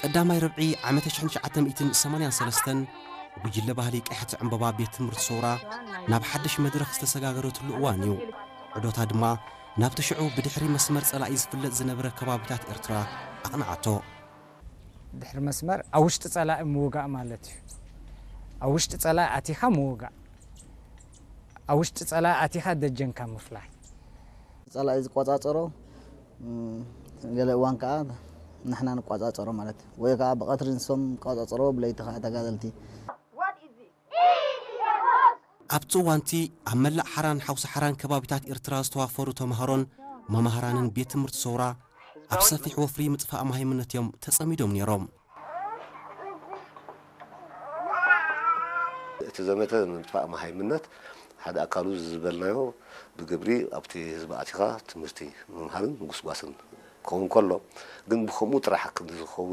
ቀዳማይ ርብዒ ዓመተ ሽሕን ትሽዓተ ሚእትን ሰማንያን ሰለስተን፣ ጉጅለ ባህሊ ቀያሕቲ ዕምበባ ቤት ትምህርቲ ሰውራ ናብ ሓድሽ መድረኽ ዝተሰጋገረትሉ እዋን እዩ። ዕዶታ ድማ ናብቲ ሽዑ ብድሕሪ መስመር ጸላኢ ዝፍለጥ ዝነበረ ከባቢታት ኤርትራ ኣቕንዓቶ። ድሕሪ መስመር ኣብ ውሽጢ ጸላኢ ምውጋእ ማለት እዩ። ኣብ ውሽጢ ጸላኢ ኣቲኻ ምውጋእ፣ ኣብ ውሽጢ ጸላኢ ኣቲኻ ደጀንካ ምፍላይ። ጸላኢ ዝቆጻጸሮ፣ እም፣ ገለ እዋን ከኣ ንሕና ንቆጻጸሮ ማለት እዩ። ወይ ከኣ ብቐትሪ ንሶም ቆጻጸሮ፣ ብለይቲ ከኣ ተጋደልቲ። ኣብቲ እዋንቲ ኣብ መላእ ሓራን ሓውሲ ሓራን ከባቢታት ኤርትራ ዝተዋፈሩ ተምሃሮን መማህራንን ቤት ትምህርቲ ሰውራ ኣብ ሰፊሕ ወፍሪ ምጥፋእ መሃይምነት እዮም ተጸሚዶም ነይሮም። እቲ ዘመተ ምጥፋእ መሃይምነት ሓደ ኣካሉ ዝበልናዮ ብግብሪ ኣብቲ ህዝቢ ኣቲኻ ትምህርቲ ምምሃርን ምጉስጓስን ክኸውን ከሎ፣ ግን ብኸምኡ ጥራሕ ክንዲ ዝኸውን